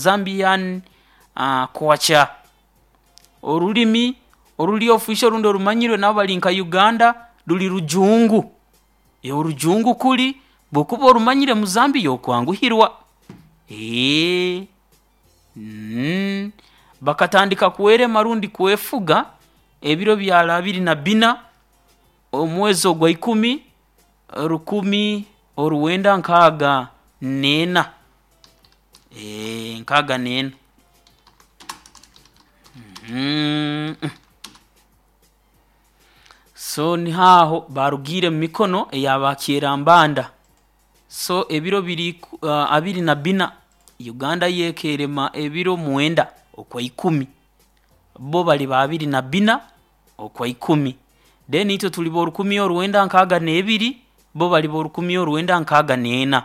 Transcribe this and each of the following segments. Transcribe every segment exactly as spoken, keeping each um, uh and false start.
Zambian uh, kwacha orulimi oruli official rundi orumanyirwe nabo bali nka Uganda ruli rujungu. E, orujungu kuli bwokuba orumanyire mu Zambia okwanguhirwa. Eee mm. Bakatandika kwerema rundi kwefuga ebiro byali abiri na bbina omwezi ogwa ikumi rukumi orwenda nkaaga n'ena, ee nkaaga n'ena. Mm. So niho aho baarugiire mu mikono ey'abakyerambanda. So ebiro biri uh, abiri na bbina, Uganda yo ekeerema ebiro mwenda Okwaikumi, bo bali abiri na bbina Okwaikumi, then itwe tuli b'orukumi orwenda nkaaga n'ebiri, bo bali b'orukumi orwenda nkaaga n'ena,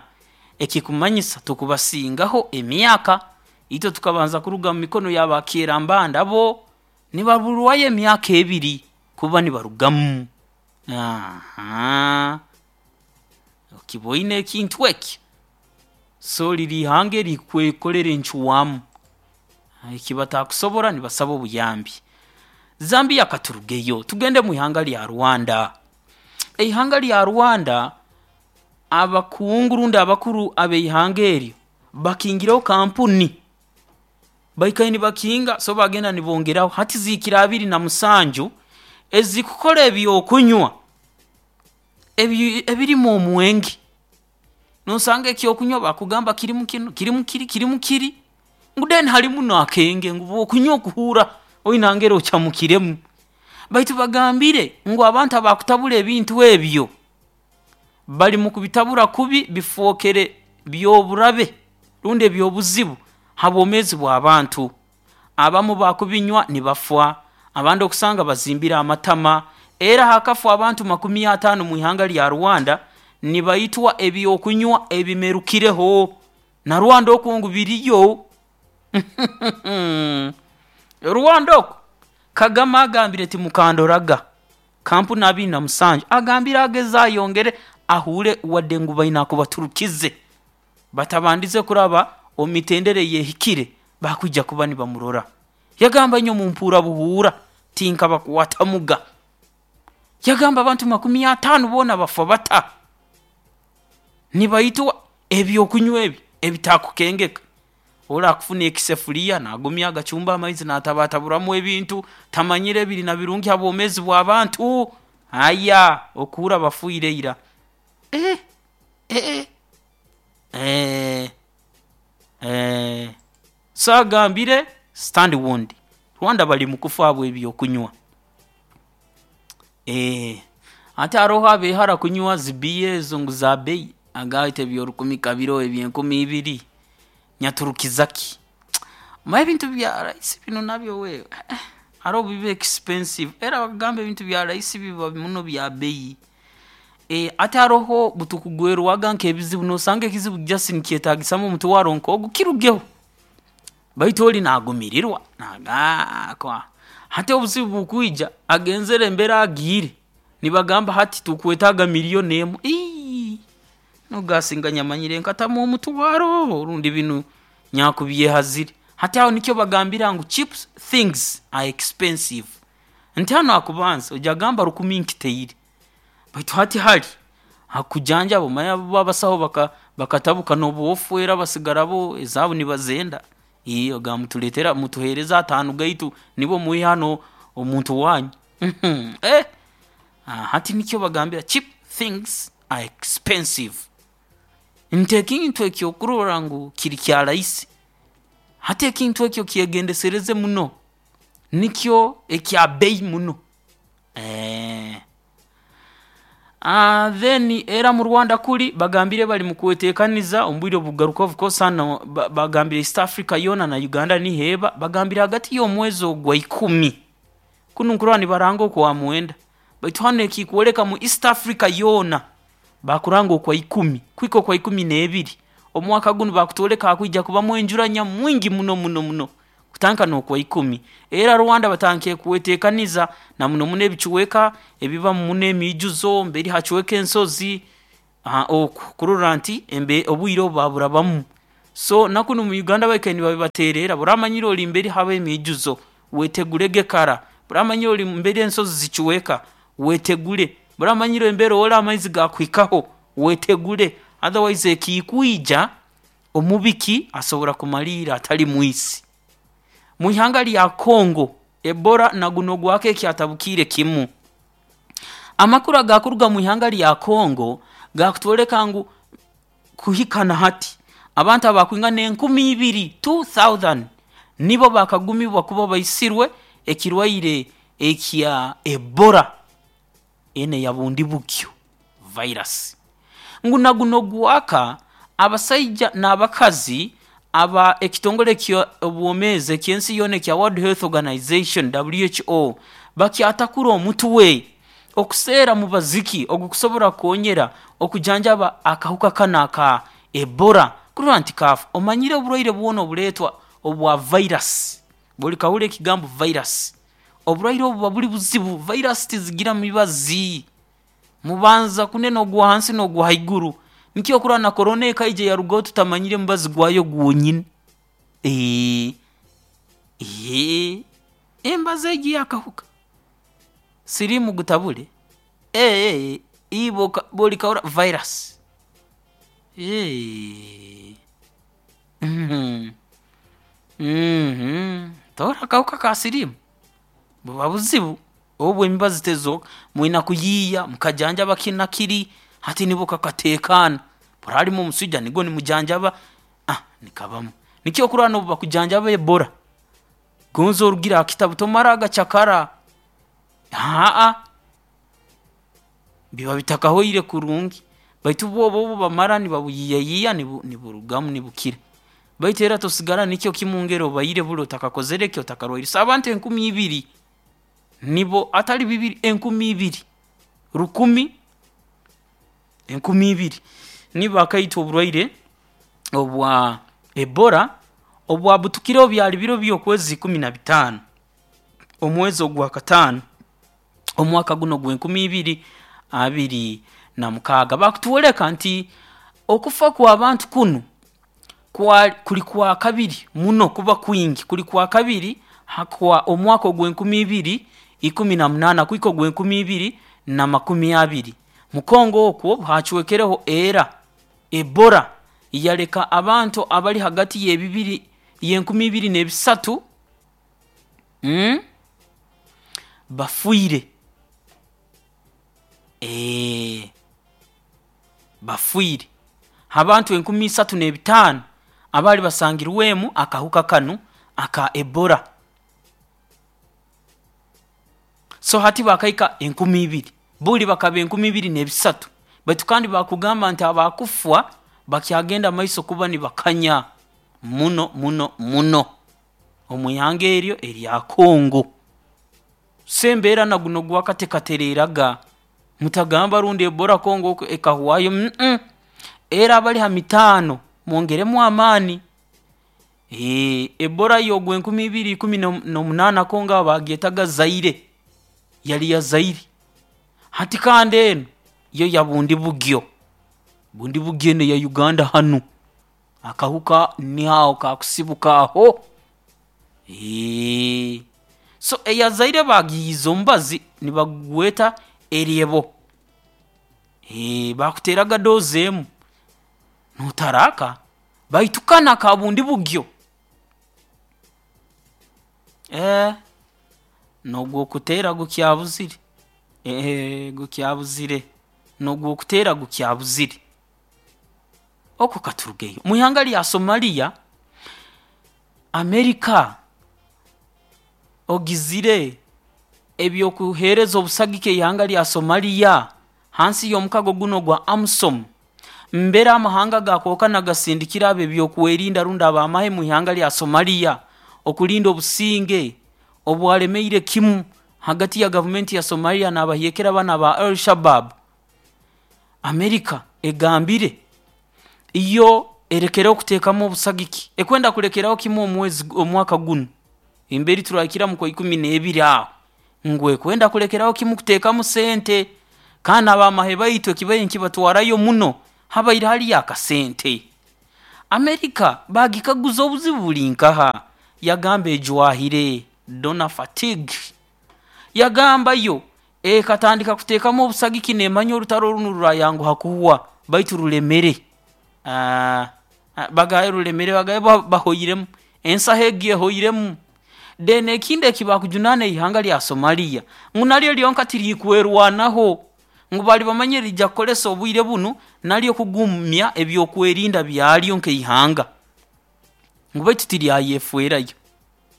ekikumanyisa tukubasingaho emyaka. Itwe tukabanza kuruga mu mikono y'abakyerambanda bo nibaburwayo emyaka ebiri kuba nibarugamu, ahaa, okiboine ekintu eki? So liri ihanga erikwekolera encwamu, eki batakusobora nibasaba obuyambi. Zambia katurugeyo tugende mwihanga lya Rwanda. Eihanga lya Rwanda, abakungu rundi abakuru ab'ihanga eryo bakingireho kampuni, baikaire nibakinga so bagenda nibongeraho hati zihikire abiri na musanju ezikukora ebyokunywa ebi ebirimu omwenge. Noosanga ekyokunywa bakugamba kirimu kinu, kirimu kiri, kirimu kiri ngu then harimu n'akenge ngu obu okunywa okuhuura oine nambere ocamukiremu. Baitu bagambire ngu abantu abakutabura ebintu ebyo, bali mukubitabura kubi bifookere by'oburabe rundi eby'obuzibu ha bwomeezi bw'abantu. Abamu bakubinywa nibafa, abandi okusanga bazimbire amatama, era hakafa abantu makumi ataano mwihanga lya Rwanda nibaitwa ebyokunywa ebimerukireho. Na Rwanda oku ngu biriyo Rwanda oku, Kagame agambire timukandoraga, kampuni abiri na musanju agambire ageze ayongere ahuure wadde ngu baine aku baturukize batabandize kuraba omu mitendera eyeehikire bakwija kuba nibamurora. Yagamba nyowe mumpuura buhuura tinkabakwatamuga. Yagamba abantu makumi ataano boona bafa bata? Nibaitwa ebyokunywa ebi ebitakukengeka. Oli akufuna ekisefuriya naagumya agacumba amaizi naatabataburamu ebintu, tamanyire biri na birungi ha bwomeezi bw'abantu, haya okuhuura bafiire ira. Eeh eeh eeh eeh so agambire stand warned, Rwanda bali mukufa habw'ebyokunywa. Eeh hati haroho abeehara kunywa zi beer ezo ngu za bbeyi, nagamba itwe eby'orukumi ka biroho eby'enkumi ibiri nyaturukiza ki? Omanyire ebintu bya rahisi binu nabyo we eeh haroho obu biba expensive, era bakugamba ebintu bya rahisi biba muno bya bbeyi. Eeh hati haroho obutukugwerwaga nk'ebizibu noosanga ekizibu just nikyetaagisamu omutwaro nk'ogu kirugeho, baitu oli naagumirirwa naagamba hati obuzibu bukwija agenzere mbere agiire nibagamba hati tukwetaaga million emu, iii nogamba singa nyamanyire nkatamu omutwaro rundi binu naakubyehazire. Hati aho nikyo bagambira ngu cheap things are expensive, nti hanu hakubanza oija kugamba rukumi nkitaire baitu hati hali hakukujanjaba omanyire bo abasaho baka bakatabuka nobu ofa era basigara bo ezaabu nibazenda, ii ogamba mutuleetere mutuheereze ataano gaitu nibo mwihe hanu omuntu wanyu eeh hati nikyo bagambira cheap things are expensive, nti ekintu eki okurora ngu kiri kya rahisi, hati ekintu eki okyegendesereze muno, nikyo ekya bbeyi muno. Then era mu Rwanda kuri bagambire bali mukweteekaniza omu bwire obukugaruka of course hanu ba- bagambire East Africa yoona na Uganda niho eba, bagambire hagati y'omwezi ogwa ikumi, kunu nkurora nibaranga okwa mwenda baitu hanu ekikwoleka mu East Africa yoona baakuranga okwa ikumi kuhika okwa ikumi n'ebiri omwaka gunu bakutwoleka hakwija kubamu enjura nyamwingi muno muno muno kutandika n'Okwaikumi. Era Rwanda batandikire kweteekaniza na muno muno ebicweka ebibamu muno emiijuzo mberi hacweka ensozi, oku kurora nti embe- obwire obu baaburabamu. So nakunu mu Uganda baikaire nibabibateererra, buramanyire ori mberi haba emiijuzo, wetegurege kara. Buramanyire ori mberi ensozi zichweka, wetegure. Buramanyire emberi ori amaizi gakuhikaho, wetegure, otherwise ekikwija omubiki asobora kumaliira atali mwisi. Mwihanga lya Congo, Ebola na gunu ogwaka ekyatabukiire kimu. Amakuru agakuruga mwihanga lya Congo gakutwoleka ngu kuhika na hati abantu abakwingana enkumi ibiri two thousand nibo bakagumibwa kuba baisirwe ekirwaire ekya Ebola enu eya Bundibugyo virus. Ngu na gunu ogwaka, abasaija n'abakazi aba ekitongole ky'obwomeezi eky'ensi yoona ekya World Health Organisation W H O bakyatakura omutwe okuseera mubazi ki ogukusobora kukoonyera okujanjaba akahuka kanu aka Ebola kurora nti kaafa. Omanyire oburwaire bwona obuleetwa obwa virus, buli okahurra ekigambo virus, oburwaire obu buba buli buzibu. Virus tizigira mibazi, mubanza kunena ogwa hansi n'ogwa haiguru. Nikyo okurora na Korona ekaija yarugaho tutamanyire mubazi gwayo gwonyini, eeh, embazi egi ey'akahuka siriimu gutabule, eeh, iwe buli okahurra virus, eeh, tohurra akahuka ka siriimu? Buba buzibu, obu emibazi tezooka, mwina kuyiiya mukajanjaba kinu na kiri, hati nubwo kakateekaana. Obu haraaba harumu omuswija nugwo nimujanjaba, aah nikabamu. Nikyo okurora n'obu bakujanjaba Ebola, gonze orugire ha kitabu tomara gacakara, haah, biba bitakahoire kurungi baitu bbo obu bamara nibabuyiiyayiiya niburugamu nibukira, baitu era tosigara nikyo kimu ngeri obaire buli otakakozire ki, otakarwaire. So abantu enkumi ibiri nibo hatali bibiri, enkumi ibiri, rukumi, enkumi ibiri nibo bakaitwa oburwaire obwa Ebola obwabutukireho byali biro by'okwezi ikumi na bitaano, omwezi ogwakataano, omwaka gunu ogw'enkumi ibiri abiri na mukaaga. Baakutwoleka nti okufa kw'abantu kunu kwa kuli kwakabiri muno kuba kwingi, kuli kwakabiri ha omwaka ogw'enkumi ibiri ikumi na munaana kuhika ogw'enkumi ibiri na makumi abiri. Mu Congo okwo haacwekereho era Ebola yaleka abantu abali hagati y'ebibiri y'enkumi ibiri n'ebisatu bafiire, bafiire h'abantu enkumi isatu n'ebitaano abaali basangirwemu akahuka kanu aka Ebola. So hati baakahika enkumi ibiri, buli bakaba enkumi ibiri n'ebisatu baitu kandi baakugamba nti abakufa bakyagenda mumaiso kuba nibakanya muno muno muno omwihanga eryo erya Congo. So embeera na gunu ogwaka tekatereeraga, mutagamba rundi Ebola Congo oku ekahwayo, era abali ha mitaano mwongeremu amaani, Ebola yo ogw'enkumi ibiri ikumi n'omunaana Congo aho baagyetaga Zaire, yali ya Zaire, hati kandi enu yo ya Bundibugyo, Bundibugyo enu eya Uganda hanu, akahuka niho aho kaakusibuka aho, so eya Zaire baagiiyize omubazi nibagweta Eryebo, baakuteeraga dose emu nootaraaka baitu kanu aka Bundibugyo, eeh, n'ogw'okuteera gukyabuzire, gukyabuzire, n'ogw'okuteera gukyabuzire, oku katurugeyo. Mwihanga lya Somalia, America ogizire eby'okuheereza obusagiki eihanga lya Somalia hansi y'omukago gunu ogwa AMISOM mbere amahanga gaakwahukana gasindikire ab'ebyokwerinda rundi ab'amahe mwihanga lya Somalia okulinda obusinge obwalemeire kimu hagati ya gavumenti ya Somalia n'abayeekera banu aba Al Shabaab. America egambire yo erekereho kuteekamu obusagiki, ekwenda kulekeraho kimu omwezi omwaka gunu emberi turaahikira mu Kwaikumi n'ebiri aho, ngu ekwenda kulekeraho kimu kuteekamu sente kandi n'ab'amahe baitu ekibaire nikibatwarayo muno habaire haliyo akasente. Amerika bagikaguza obuzibu buli nkaha, yagamba ejwahire donor fatigue. Yagamba yo ekatandika kuteekamu obusagiki neemanya orutaro runu rurayanguha kuhwa, baitu rulemere. Aah bagaye rulemere, bagaye bahoiremu, ensaho egi ehoiremu. Then ekindi eki bakujunaana eihanga lya Somalia ngu naryo lyonka tirikwerwanaho, ngu baali bamanyire niriija kukolesa obwire bunu naryo kugumya ebyokwerinda byaryo nk'eihanga, ngu baitu tiryayefeerayo.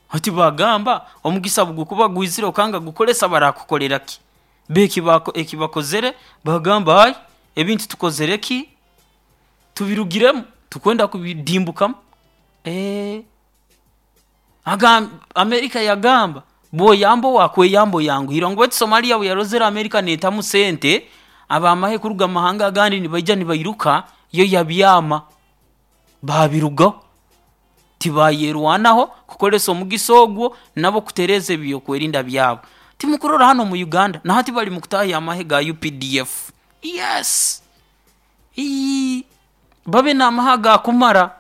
Hati baagamba omugisa obu gukuba gwizire okanga kugukolesa baraakukolera ki? Bo eki baakozere baagamba ai ebintu tukozere ki, tubirugiremu tukwenda kubidimbukamu. Eeh agamba Amerika yagamba bw'oyamba owaakweyamba oyanguhirwa, ngu baitu Somalia obu yarozere Amerika neetamu sente, ab'amahe kuruga mu mahanga agandi nibaija nibairuka, yo yabyama, baabirugaho, tibaayerwanaho kukolesa omugisa ogu nabo kutereeza ebyokwerinda byabo. Timukurora hanu omu Uganda nahati bali mukutaahya amahe ga U P D F, yes, iii babe n'amahe agakumara.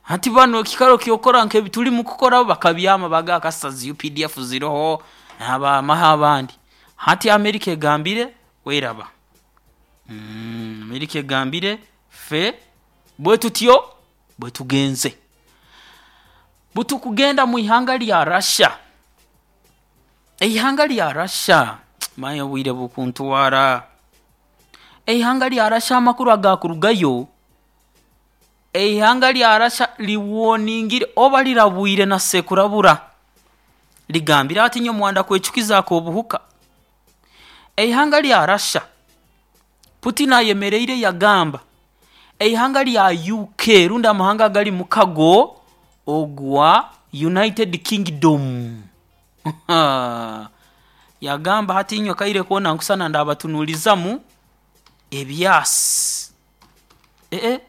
Hati banu ekiikaro ky'okukora nk'ebi tukukora bo bakabyama baagamba kasita zi U P D F ziroho, ab'amahe abandi. Hati Amerika egambire weraba, Amerika egambire ffe bwe tutyo bwe tugenze. Obu tukugenda mwihanga lya Russia, eihanga lya Russia, manya obwire bukuntwara, eihanga lya Russia amakuru agakurugayo, eihanga lya Russia liworningire oba lirabwire na sekurabura, ligambire ati inywe mwanda kwecukiza ak'obuhuka. Eihanga lya Russia, Putin ayemeriire yagamba eihanga lya U K rundi amahanga agali mmukago ogwa United Kingdom, yagamba hati inywe akaire koona nkusana ndabatunuulizaamu ebyasi, eeh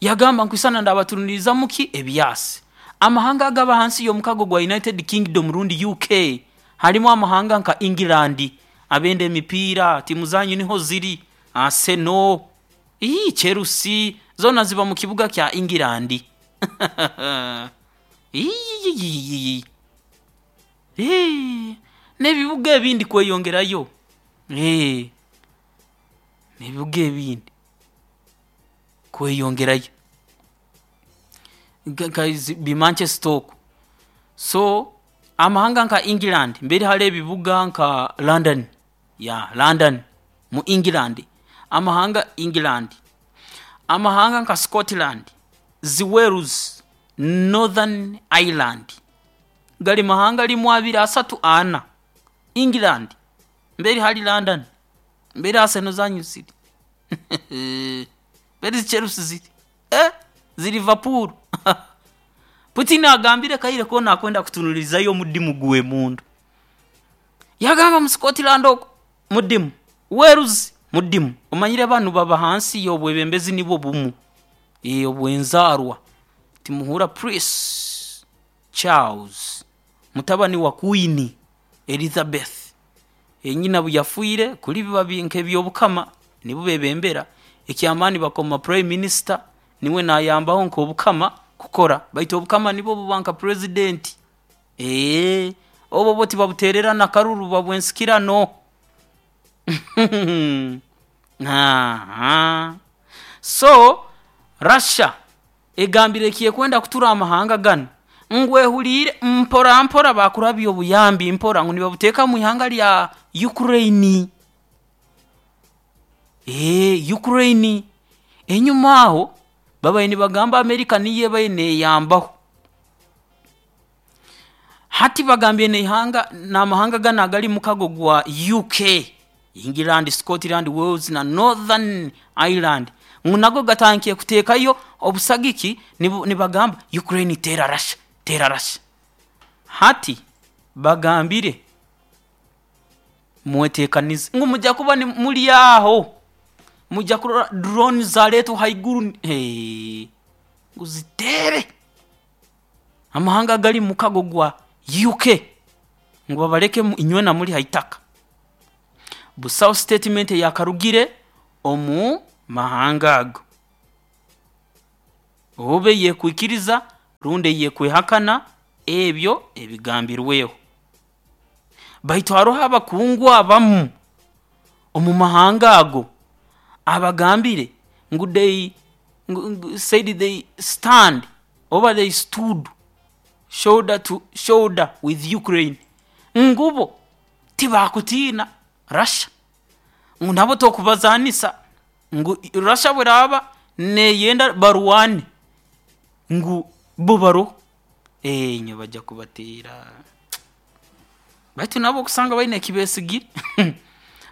yagamba nkwisana ndabatunuulizaamu ki, ebyasi. Amahanga agaba hansi y'omukago gwa United Kingdom rundi U K harimu amahanga nka England, abenda emipiira tiimu zanyu niho ziri Arsenal, iii Chelsea zoona ziba mukibuga kya England, iii hee, n'ebibuga ebindi kweyongerayo, n'ebibuga ebindi kweyongerayo nka nka bi Manchester oku. So amahanga nka England mbere haroho ebibuga nka London, yeah London mu England, amahanga England, amahanga nka Scotland, zi Wales, Northern Ireland, gali mahanga limu abiri asatu ana, England mbere hali London mbere Arsenal zanyu ziri, mbere zi Chelsea ziri, eeh zi Liverpool. Putin agambire akaire koona akwenda kutunulizayo omudimu gw'emundu. Yagamba mu Scotland oku mudimu, Wales mudimu, omanyire banu baba hansi y'obwebembezi nibwo bumu obw'enzaarwa, timuhuura Prince Charles mutabani wa Queen Elizabeth, nyina obu yafiire, kuri biba nk'ebyobukama nibo beebembera, eky'amaani bakoma prime minister niwe naayambaho nk'obukama kukora baitu obukama nibwo buba nka president, obu bo tibabuteererana karuru buba bw'ensikirano. Ahaa, so Russia egambire eki ekwenda kutura amahanga ganu ngu ehuliire mpora mpora baakurabya obuyambi mpora ngu nibabuteeka mwihanga lya Ukraine, eeh Ukraine. Enyuma aho babaire nibagamba America niyo ebaire neeyambaho, hati bagambire n'ihanga n'amahanga ganu agali mmukago gwa U K, England, Scotland, Wales na Northern Ireland ngu nago gatandikire kuteekayo obusagiki nibu nibagamba Ukraine teera Russia, teera Russia. Hati bagambire mweteekanize ngu mujja kuba muli aho, mwija kurora drone zaareetwa haiguru hee, ngu ziteere amahanga agali mmukago gwa U K ngu babaleke inywena muli haitaka. Busaho statement eyaakarugire omu mahanga ago. Obe yekwikiriza rundi yekwehakana ebyo ebigambirweho. Baitu haroho abakungu abamu omu mahanga ago abagambire ngu they said they stand oba they stood shoulder to shoulder with Ukraine, ngubo tibakutiina Russia, ngu nabo tokubazanisa, ngu Russia bweraba neyenda barwane ngu bo baroho, enye bajja kubateera. Baitu nabo okusanga baine ekibesigire.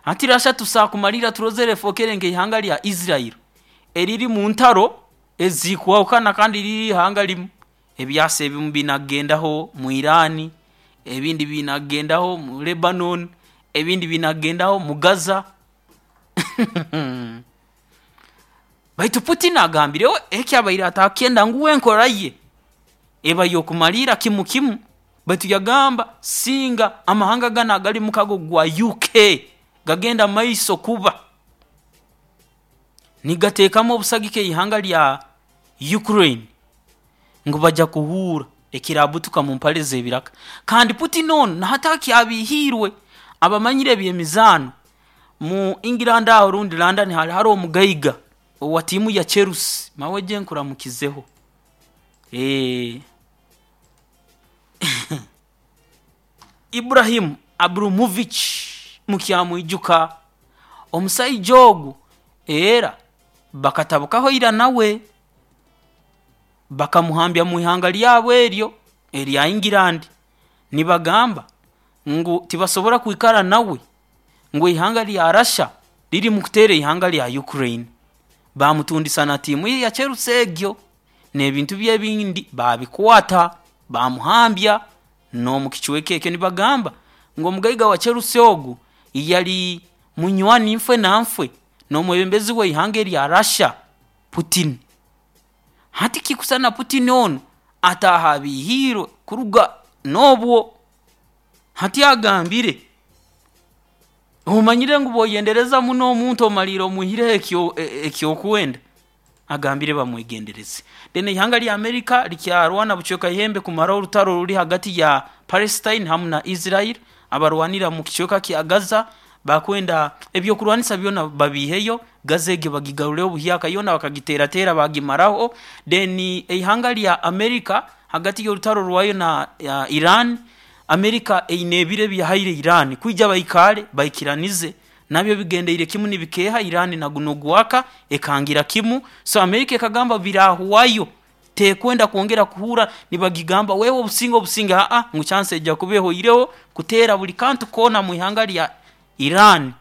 Hati Russia tusakumalira turozere efokere nk'eihanga lya Israel eriri mu ntaro ezikwahukana kandi riri ihanga limu. Ebyasa ebimu binagendaho mu Iran, ebindi binagendaho mu Lebanon, ebindi binagendaho mu Gaza. Baitu Putin agambireho ekyabaire atakyenda ngu enkora ye eba y'okumalira kimu kimu, baitu yagamba singa amahanga ganu agali mukago gwa U K gagenda maiso kuba nigateekamu obusagika eihanga lya Ukraine ngu bajja kuhuura ekirabutuka mu mpale z'ebiraka. Kandi Putin onu nahataki abihiirwe abamanyire eby'emizaano mu England aho rundi London hali hariho omugaiga owa tiimu ya Chelsea mawe gye nkuramukizeho. Eh, Ibrahim Abramovich mukyamwijuka omusaija ogu era bakatabukaho ira nawe bakamuhambya mu ihanga lyabo eryo erya England, nibagamba ngu tibasobora kwikara nawe ngu ihanga lya Russia riri mu kuteera ihanga lya Ukraine. Bamutundisa na tiimu ye ya Chelsea egyo n'ebintu bye ebindi babikwata bamuhambya n'omu kicweka ekyo. Nibagamba ngu omugaiga wa Chelsea ogu yali munywani nfwe na nfwe n'omwebembezi w'eihanga erya Russia Putin. Hati kikusana Putin onu ataaha abihiirwe kuruga n'obwo. Hati agambire omanyire ngu bw'oyendereza muno omuntu omaliire omwihireho ekyo ekyokwenda, agambire bamwegendereze. Then eihanga lya Amerika likyarwana bucweka ihembe kumaraho orutaro oruri hagati ya Palestine hamu na Israel, abarwanira mu kicweka kya Gaza bakwenda ebyokurwanisa byona babiiheyo, Gaza egyo bagigarureho buhyaka yoona bakagiteerateera bagimaraho. Then eihanga lya Amerika hagati y'orutaro rwayo na ya Iran, Amerika eine ebiro ebiyahaire Iran kwija baikaale baikiranize nabyo bigendeire kimu nibikeeha Iran na guno gwaka ekangira kimu. So Amerika ekagamba birahwayo tekwenda kwongera kuhura nibagigamba wewe obusinge obusinge aa ngu chance ejja kuba ehoireho kuteera buli kantu koona mu ihanga lya Iran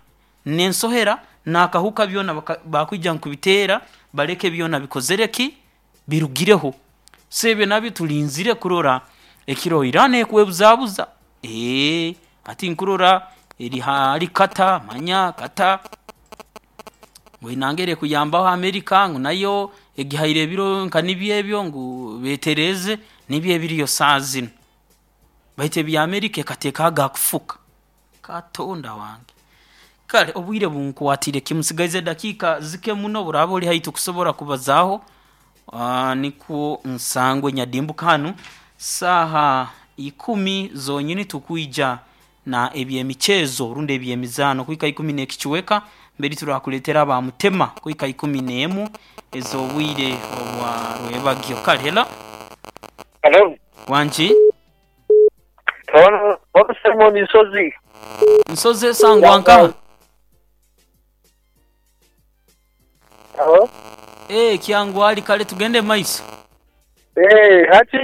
n'ensohera n'akahuka byona bakwija nkubiteera baleke byona bikozere ki birugireho. So ebyo nabyo tulinzire kurora ekiro Iran ekwebuzabuza ee hati nkurora eri hali kata manya kata ngu enangere kuyambaho Amerika ngu nayo egihaire ebiro nka nibyo ebyo ngu beetereeze nibyo ebiriyo saaha zinu. Baitu ebya Amerika ekateekaho agakufuka katonda wange. Kale obwire bunkwatire kimu nsigaize dakiika zike muno buraaba ori haihi tukusobora kubazaaho uh, nikwo nsangwe nyadimbuka hanu saaha ikumi zonyini tukwija na eby'emichezo rundi eby'emizaano kuhika ikumi n'ekicweka mbere turakuleetera abamutema kuhika ikumi n'emu ez'obwire obwa rwebagyo. Kale helo. Hello. Wangi? Ono ono Simon Nsozi. Nsozi esangwa nkaha? Hello. Eh, kyangwali kale tugende maiso. Eh, hati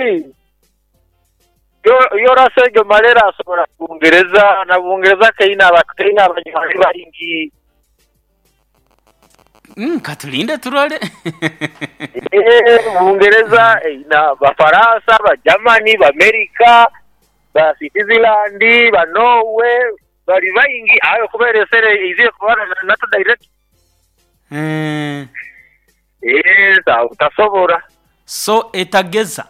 yo yo rasejo malera asobola Bungereza na Bungereza keina abakeina abanywanyi baingi. Mm, katulinde turole. Eh, Bungereza na Bafaransa, ba Germany, ba Amerika, ba Switzerland, ba Norway, bali baingi ayo kuberesere iziye kubana na NATO direct. Mm. Eh, utasobora. So etageza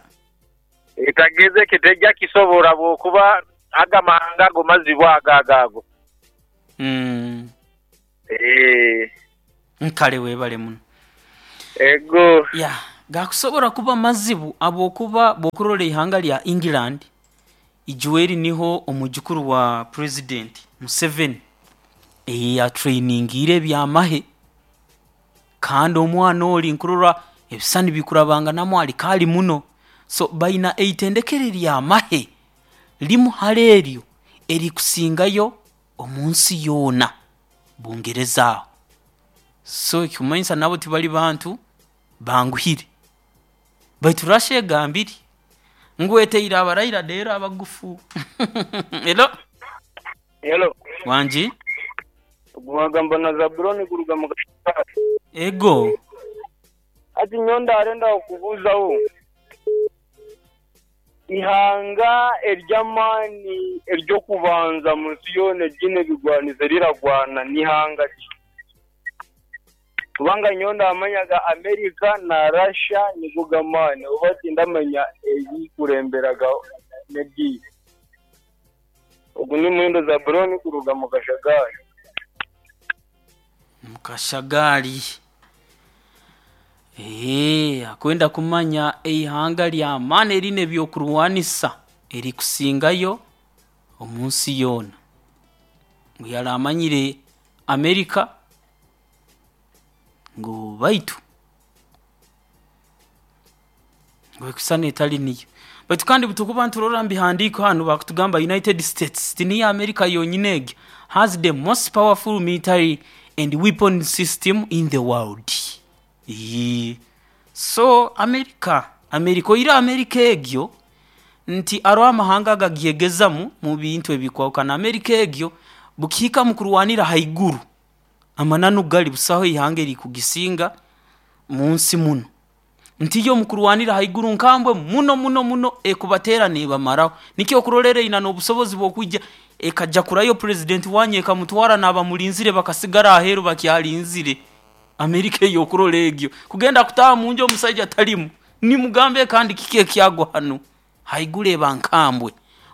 etageze kitejja kisobora bwokuba agamahanga ago mazibwa agagago. Mm. Eh. Nkale webale muno. Ego. Ya, Gakusobora kuba mazibu habwokuba bw'okurora ihanga lya England, ijweri niho omujukuru wa President Museveni yatrainingiire ebyamahe, kandi omwana ori nkurora ebisani bikurabanganamu ali kaali muno. So baina eitendekero ery'amahe limu hali eryo erikusingayo omunsi yoona, Bungereza aho. So ekikumanyisa nabo tibali bantu banguhire. Baitu Russia egambire ngu eteire abaraira reero abagufu. Elo. Hello. Wangi? Ogwo na Zabuloni kuruga mu Ego. Ati nyowe ndarenda kukubuuzaho ihanga ery'amaani ery'okubanza mu nsi yoona eryine ebigwaniso eriragwana n'ihanga ki? Kubanga nyowe ndamanyaga America na Russia nigo g'amaani oba tindamanya erikuremberaga n'eryihi. Ogu ni Muhindo Zabuloni kuruga mu Kashagari. Mu Kashagari. Eee, akwenda kumanya eihanga ly'amaani erine ebyokurwanisa erikusingayo omu nsi yoona. Ngu yaramanyire America ngu baitu ngu ekusana etali niyo. Baitu kandi obutukuba niturora mubihandiiko hanu bakutugamba United States tiniyo America yonyini egi has the most powerful military and weapon system in the world. Ii. So America, America oihireho America egyo nti hariho amahanga agagyegezamu mu bintu ebikwahukana. America egyo bukihika mu kurwanira haiguru, amananu gali busaho ihanga erikugisinga munsi munu. Nti yo mukurwanira haiguru nkambwe muno muno muno ekubateera neebamaraho. Nikyo okurolera eine n'obusobozi bw'okwija ekajakurayo president wanyu ekamutwara n'abamulinzire bakasigara aheeru bakyalinzire. America ey'okurora egyo kugenda kutaaha munju omusaija talimu, nimugambe kandi kiki ekyagwa hanu? Haiguru eba nkambwe.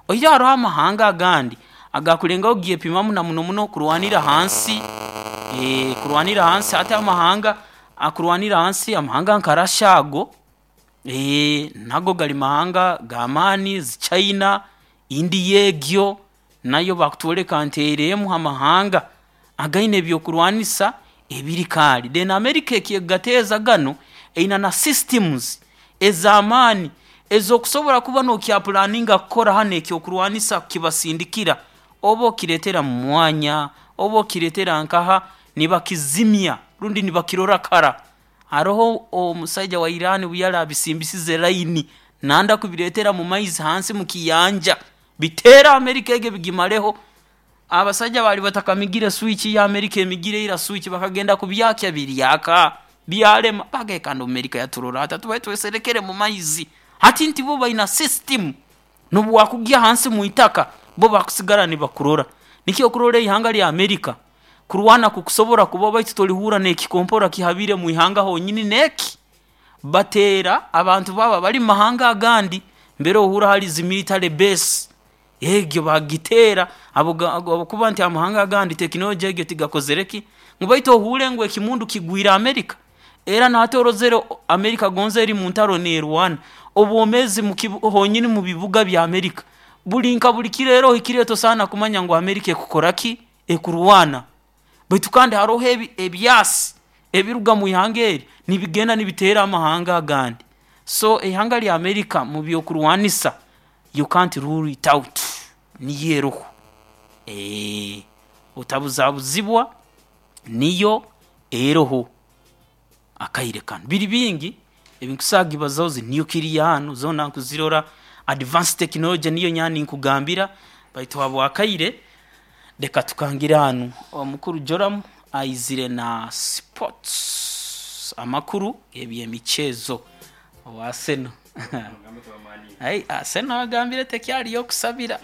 Oihireho hariho amahanga agandi agakulengaho kugyepimamu na muno muno kurwanira hansi, ee, kurwanira hansi hati amahanga akurwanira hansi amahanga nka Russia ago, ee, nago gali mahanga g'amaani, zi China, India egyo nayo bakutwoleka nti eri emu ha mahanga againe ebyokurwanisa ebiri kaali. Then America ekyekugateeza ganu eine na systems ez'amaani ez'okusobora kuba nokyapulaninga kukora hanu ekyokurwanisa kukibasindikira, oba okireetera mu mwanya, oba okireetera nkaha, nibakizimya rundi nibakirora kara. Haroho omusaija wa Iran obu yali abisimbisize line nanda kubireetera mu maizi hansi mu kiyanja, biteere America egi bigimareho. Abasaija baali batakamigire switch ya America emigire ira switch bakagenda kubyakya biryaka, byalema. Bagaye kandi America yaturora ata tubaye tweserekere mu maizi. Hati nti bo baina system n'obu wakugya hansi mu itaka bo bakusigara nibakurora. Nikyo okurora ihanga lya America kurwana kukusobora kuba baitu torihurra n'ekikompora kihabire mu ihanga honyini n'eki bateera abantu baabo abari mu mahanga agandi mbere ohurra hari zi military base egyo bagiteera habwokuba nti amahanga agandi tekinology egyo tigakozire ki, ngu baitu ohuure ngu ekimundu kigwire America. Era nahati orozere America gonza eri mu ntaro neerwana, obwomeezi honyini mu bibuga bya America buri nka buri kiro era ohikire tosaana kumanya ngu America ekukora ki? Ekurwana. Baitu kandi haroho ebi ebyasi ebiruga mu ihanga eri nibigenda nibiteera amahanga agandi. So ihanga lya America mu byokurwanisa you can't rule it out, niyo eroho. Eee, otabuzabuzibwa niyo eroho akaire kanu. Biri bingi ebinkusobora kugibazaho zi nuclear hanu zoona nkuzirora, advanced technology niyo nyowe ninkugambira baitu habw'akaire leka tukangire hanu. Omukuru Joram aizire na sports, amakuru g'ebyemichezo owa Arsenal. Ai, Arsenal agambire tekyali y'okusabira.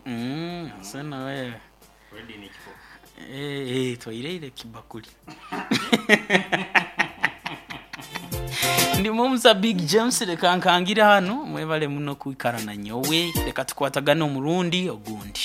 Mm, Arsenal wewe. Eh, eh, twaireire ekibakuli. Ndi Mumza Big James leka nkangire hanu mwebale muno kwikara na nyowe leka tukwatagane omurundi ogundi.